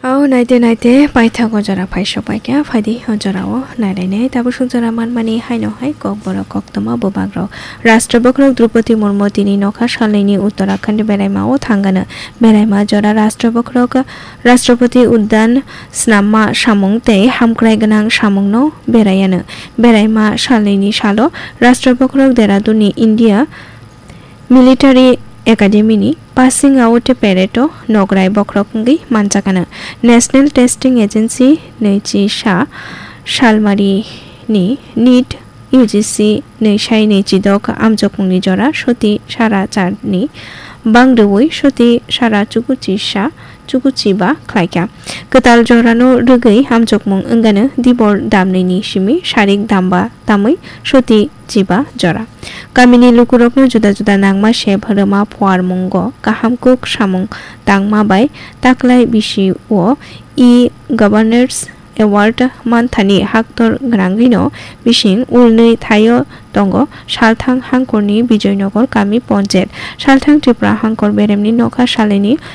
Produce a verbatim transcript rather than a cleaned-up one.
O naite naite paithak o jora phai sok pai kha, phaidi o jora o nai lai nai. Tabuk suk jora manmani haino hai Kokborok koktwma bubak rok. Rashtra bokhorok Droupadi Murmu tini nokha salnwi ni Uttarakhand beraima o thangano. Beraima jora Rashtra bokhorok Rashtrapati Udyan snamma samung tei hamkrai gwnang samung no beraiano. Beraima salnwi ni salo Rashtra bokhorok Dehradun ni India Military Academy ni passing out parade o nograi bokhorok wngwi manjakano. National Testing Agency nwichi sa salmari ni NEET U G C nwi sai nwi chidok amjokmungni jora soti sara charni bang rwui soti sara chukuchi sa chukuchi ba khlaikha. Kwtal jorano rwgwi amjokmung wngano dibor damnwini simi sarik damba tamwi soti chiba jora. Kamini lukurokno juda juda nangma sep rwma phuarmungo kaham kuk samung tangma bai taklai bisi o e-governance award manthani haktor gwnangwino bising ulnwi thaio tongo Salthang hangkorni Bijoynagar kami ponchayat. Salthang Tripura hangkor beremni nokha salini